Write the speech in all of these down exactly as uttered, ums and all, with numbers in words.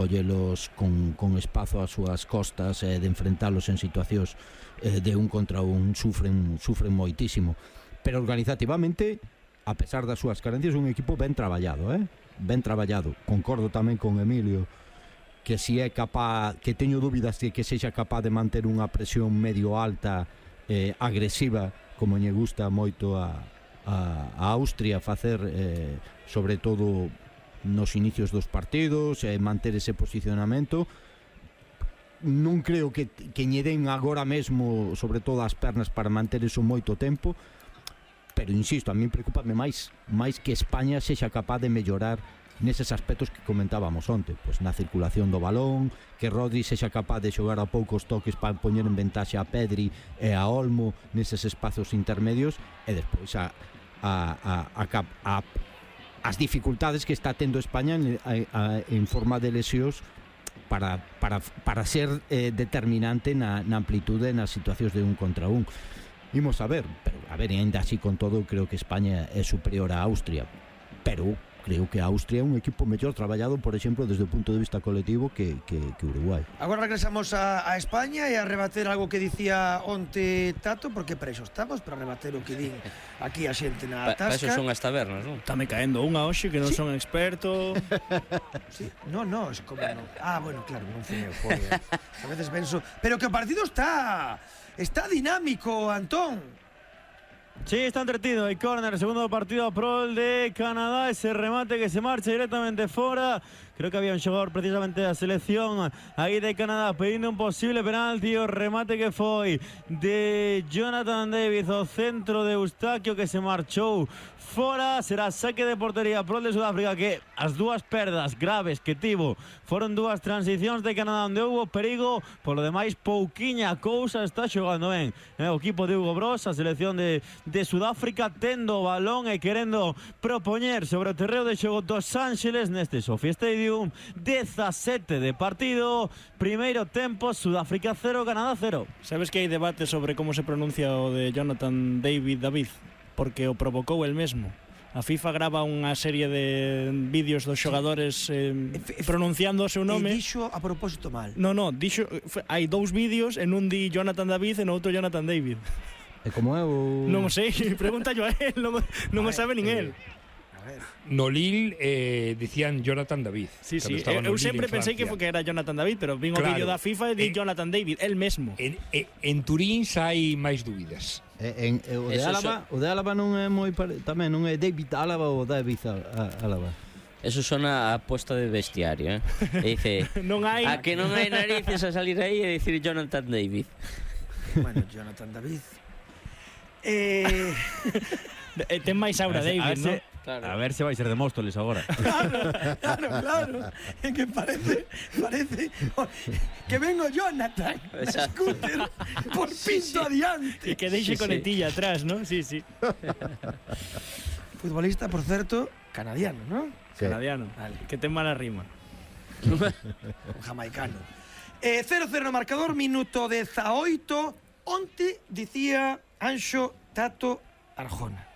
collelos con, con espazo ás súas costas e eh, de enfrentalos en situacións eh, de un contra un sufren, sufren moitísimo, pero organizativamente, a pesar das súas carencias, un equipo ben traballado, eh? ben traballado. Concordo tamén con Emilio que si é capaz, que teño dúbidas de que sexa capaz de manter unha presión medio alta, eh, agresiva, como lle gusta moito a, a, a Austria facer, eh, sobre todo nos inicios dos partidos, e eh, manter ese posicionamento. Non creo que, que lle den agora mesmo, sobre todo as pernas, para manter eso moito tempo, pero insisto, a mí preocupame máis máis que España sexa capaz de mellorar neses aspectos que comentábamos onte, pois na circulación do balón, que Rodri sexa capaz de xogar a poucos toques para poñer en ventaxe a Pedri e a Olmo neses espazos intermedios, e despois a, a, a, a, a as dificultades que está tendo España en, a, a, en forma de lesións para, para, para ser eh, determinante na, na amplitude nas situacións de un contra un. Imos a ver, pero a ver, ainda así con todo creo que España é superior a Austria, pero creo que Austria é un equipo mellor traballado, por exemplo, desde o punto de vista colectivo que, que, que Uruguai. Agora regresamos a, a España e a rebater algo que dicía onte Tato, porque para iso estamos, para rebater o que din aquí a xente na pa, tasca. Para iso son as tabernas, non? Está me caendo unha hoxe que non ¿Sí? son experto. Sí, no, no, es como no. Ah, bueno, claro, non fui eu, joder. A veces penso, pero que o partido está está dinámico, Antón. Sí, está entretenido. El córner, segundo partido a prol de Canadá. Ese remate que se marcha directamente fuera. Creo que había un xogador precisamente da selección aí de Canadá pedindo un posible penalti. O remate que foi de Jonathan David, o centro de Eustaquio, que se marchou fora. Será saque de portería prol de Sudáfrica, que as dúas perdas graves que tivo foron dúas transicións de Canadá onde houve perigo. Por lo demais, pouquiña cousa, está xogando ben eh, o equipo de Hugo Bross, a selección de, de Sudáfrica, tendo o balón e querendo propoñer sobre o terreo de xogo dos Ángeles neste Sophie Stadium. dezasete de partido, primeiro tempo, Sudáfrica cero, Canadá cero. Sabes que hai debate sobre como se pronuncia o de Jonathan David David, porque o provocou el mesmo. A FIFA grava unha serie de vídeos dos xogadores eh, pronunciando o seu nome. E dixo a propósito mal. No, no, dixo, hai dous vídeos, en un di Jonathan David e no outro Jonathan David. E como é o... Non sei, pregúntallo a él, non, non o sabe nin él. No Lille eh, dicían Jonathan David. Sí, sí, eu, eu sempre pensei que, que era Jonathan David, pero vin o claro, vídeo da FIFA e di en, Jonathan David, el mesmo. En, en, en Turín hai máis dúbidas. En, en, o, de Álava, so... o de Álava non é moi pare... tamén non é David Álava ou David Álava. Eso sona a aposta de bestiario, eh? E dice, non hai... a que non hai narices a salir aí e dicir Jonathan David. Bueno, Jonathan David. Eh... Ten máis aura David, non? Claro. A ver se vai ser de Móstoles agora. Claro, claro, claro. É que parece, parece que vengo Jonathan, scooter, por pinto sí, sí. adiante. E que deixe sí, conectilla sí. atrás, ¿no? Sí, sí. Futbolista, por certo, canadiano, ¿no? Sí. Canadiano, vale. Que ten mala rima. Un jamaicano. Eh, cero cero no marcador, minuto dezaoito. Onte dicía Anxo Tato Arjona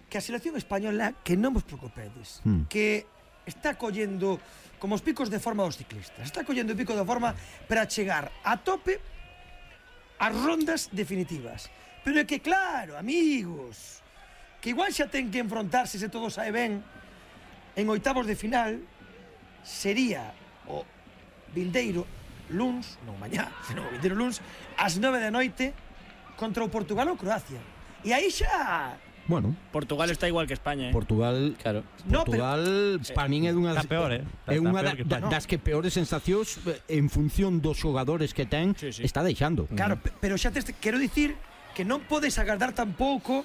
que a selección española, que non vos preocupedes, mm. que está collendo como os picos de forma dos ciclistas, está collendo o pico de forma para chegar a tope as rondas definitivas. Pero é que claro, amigos, que igual xa ten que enfrontarse, se todo sae ben, en oitavos de final, sería o vindeiro luns, non mañá, senón o vindeiro luns, ás nove da noite, contra o Portugal ou Croacia. E aí xa... Bueno, Portugal está igual que España, eh? Portugal, claro. Portugal no, pero, para min é dunha das, peor, eh? É unha da, da, das que peores sensacións en función dos xogadores que ten, sí, sí. está deixando. Claro, uh-huh. pero xa te quero dicir que non podes agardar tampouco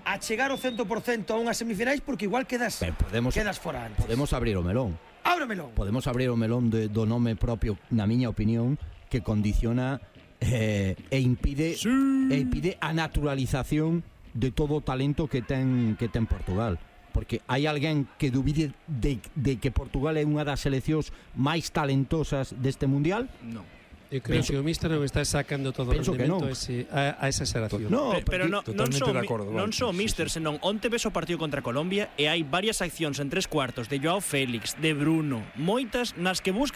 a chegar ao cento por cento a unhas semifinais, porque igual quedas podemos, quedas fora antes. Podemos abrir o melón. Abre o melón. Podemos abrir o melón de, do nome propio, na miña opinión, que condiciona eh, e impide sí. e impide a naturalización de todo o talento que ten que ten Portugal, porque hai alguén que dubide de, de que Portugal é unha das seleccións máis talentosas deste mundial? Non. Eu creo Penso- que o míster non está sacando todo o Penso que rendemento non. a, ese, a, a esa xeración. No, Pe- pero no, non totalmente só de mi- acordo, non Valky, só sí, Mister, senón onte ves o partido contra Colombia e hai varias accións en tres cuartos de Joao Félix, de Bruno, moitas nas que busca